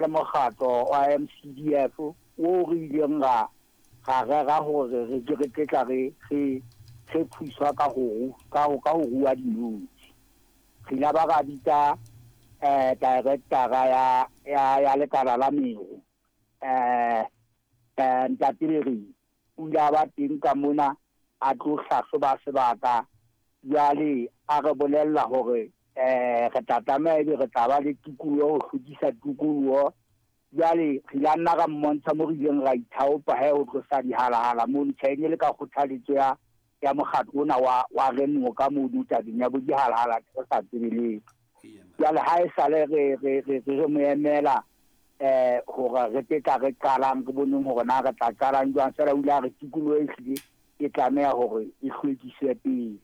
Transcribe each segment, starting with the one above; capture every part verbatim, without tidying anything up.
Le mokgatlo wa M C D F o re ileng ra ra rera hore re ke re tla re re re thuswa ka ho ka ho ka ho rua dinotshi. Re ile ba ra bitsa eh director ya ya ya lekala la meru eh eh Ntate Lereng o ile a ba teng ka mona a tlo hlahloba sebaka. Jwale a re bolella hore eh re tla tlameha ebe re tla ba le tikoloho, ho hlwekisa tikoloho. Jwale re ile nna ra mmontsha mo re ileng ra ithaopa he ho tlosa dihalahala mono. Tjhe, e ne le ka kgothaletso ya ya mokgatlo ona wa wa Remo ka mono tabeng ya bo dihalahala re sa tsebe letho. Jwale ha e sale re re re re mo emela eh hore re tle tla re qalang re boneng hore na re tla qalang jwang. Feela o ile a re tikoloho e hlile e tlameha hore e hlwekiswe pele.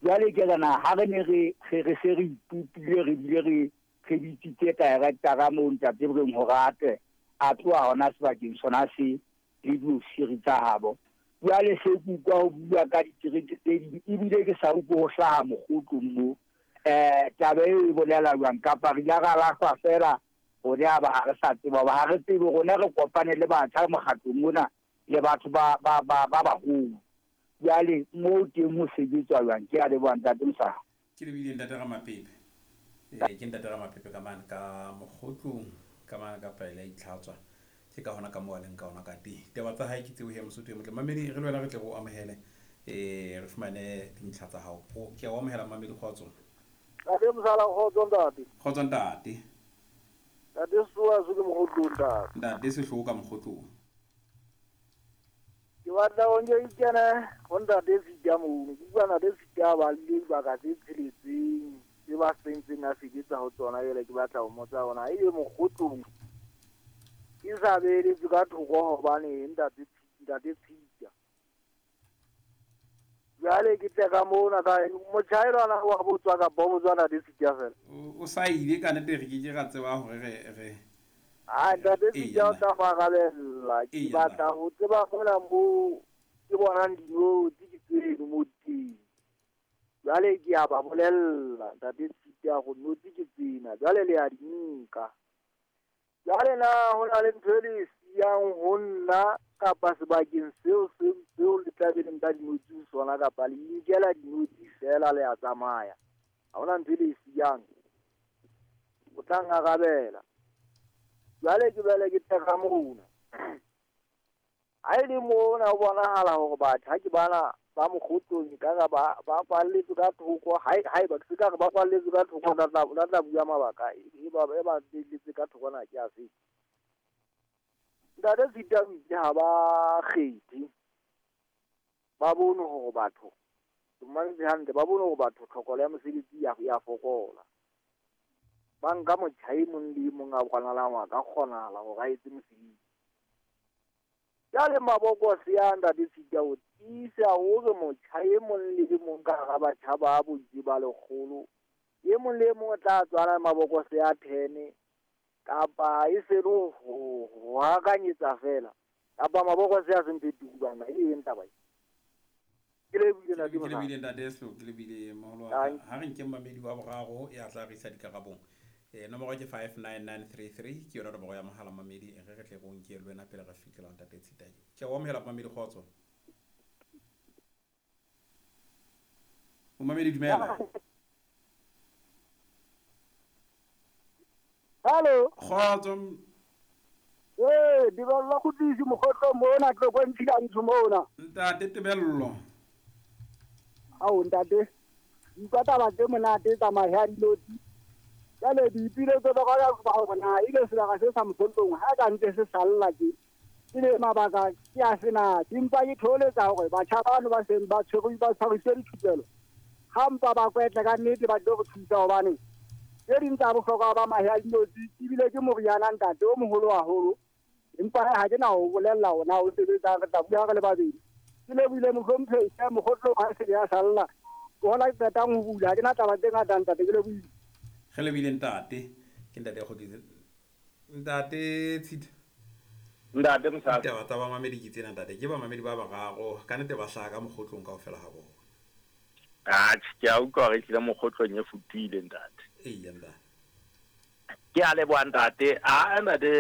Jwale ke re na ha re ne re re re se re ipopile re bile re re bitsitse director moo Ntate Bereng hore a tle a tloha hona sebakeng sona se le diofisiri tsa habo. Jwale se ke utlwa ho bua ka ditereke tse ding ebile ke sa utlwe ho hlaha mokgotlong moo. Eh taba eo e bolela jwang? Kapa re ile ra lahlwa feela hore a ba ha re sa tseba, hoba ha re tsebe rona re kopane le batjha mokgatlong mona le batho ba ba ba ba baholo. Jwale moo teng ho sebetswa jwang? Ke a leboha Ntate Mosadi. Ke lebile Ntate Ramapepe. Eh ke Ntate Ramapepe ka mane ka mokgotlong ka mane ka pele a itlhatswa. Ke ka hona ka moo a leng ka hona ka teng. Taba tsa hae ke tseo he Mosotho e motle. Mamedi re le wena re tle re o amohele eh re fumane dintlha tsa hao. O ke a o amohela Mamedi, kgotso. Ntate Mosala, kgotso ntate. Kgotso ntate. Ntate Sehloho se ke mokgotlong ntate. Ntate Sehloho ka mokgotlong. Ke batla ho nke ikene ho Ntate Sita mono. Ke utlwa Ntate Sita ba le dibaka tse tsheletseng tse ba sentseng a sebetsa ho tsona. Jwale ke batla ho mmotsa hona ebe mokgotlong ke sa beeletswe ka thoko hobane Ntate Ntate Sita. Jwale ke tle ka mona ka motjhaelwana wa botswa kapa o botswa Ntate Sita fela. O sa ile ka nnete re ke ke ra tseba hore re re Ah, Ntate Sita o tla go arabella. Ke batla ho tseba mona moo ke bonang dinotshi ke tseno mo teng. Jwale ke a ba bolella Ntate Sita go notshi ke tsena, jwale le a di nka. Jwale na ho na le ntho e le siyang ho nna kapa sebakeng seo seo seo le tla be le nka dinotshi ho sona, kapa le inkela dinotshi fela le a tsamaya? Ha hona ntho e le siyang. O tla nkarabela. Jwale ke bele ke tle ka mona. Ha e le mona ho bonahala hore batjha ke bana ba mokgotlong ekare ba ba kwalletswe ka thoko. Ha haeba ke se ka re ba kwalletswe ka thoko, ba tla ba tla bua mabaka e ba e ba belletse ka thoko na ke a fe. Ntate Sita o itse ha ba kgethe. Ba bone hore batho ke mmametse hantle, ba bone hore batho tlhokolo ya mosebetsi ya ya fokola. Ba nka motjha e mong le e mong a bonahalang a ka kgonahala hore a etse mosebetsi. Jwale mabokose a Ntate Sita o tiisa hore motjha e mong le e mong ka hara batjha ba boitse ba lekgolo, e mong le e mong o tla tswala mabokose a ten kapa e se le ho ho hakanyetsa fela kapa mabokose a seng phetuku bana e eng taba e. Ke lebohile Ntate Ke Mosadi. lebile Ntate Sehloho, ke lebile moholo wa ka. Ha re nke mamedi wa boraro ya tla re isa dikarabong. Eh nomoro ke five nine nine three three ke yona nomoro ya mohala mamedi e re re tle re o nke le wena pele re fihlela ho Ntate Tshita. Ke a o amohela mamedi, kgotso. Momamedi dumela. Hello. Kgotso. Eh, Tebello Kgutlisi mokgotlong mona Tlokwe Ntshila mona. Ntate Tebello. Ao ntate. Utlwa taba tse monate tsa mahe a dinotshi. Jwale diipiletso tsa ka ba hore na ebe sebaka se sa mokgotlong ha ka ntse se salla ke. Ebe mabaka ke a sena, ke mpa ke tholetsa hore batjha bano ba seng ba tshwerwe ba tshwariswe dithupelo. Ha mpa ba kwetle ka nnete ba tlo re thusa hobane tse ding tsa bohlokwa ba mahe a dinotshi ebile ke moriana ntate o moholo haholo. Empa ha ke na ho bolella hona o sebetsa re tla bua re le babedi. Ke lebohile mohlomphehi ya mokgotlong ha se ya salla. Ke hona ke qetang ho bula, ha ke na taba tse ngata ntate, ke lebohile. Re lebile ntate, ke Ntate Kgutlisi. Ntate Tshita. Ntate Mosadi. Ditaba tsa bamamedi ke tsena ntate, ke bamamedi ba bararo ka nnete ba hlaha ka mokgotlong kaofela ha bona. Atjhe, ke a utlwa hore ehlile mokgotlong e futuhile ntate. Eya ntate. Ke a leboha ntate. A ntate.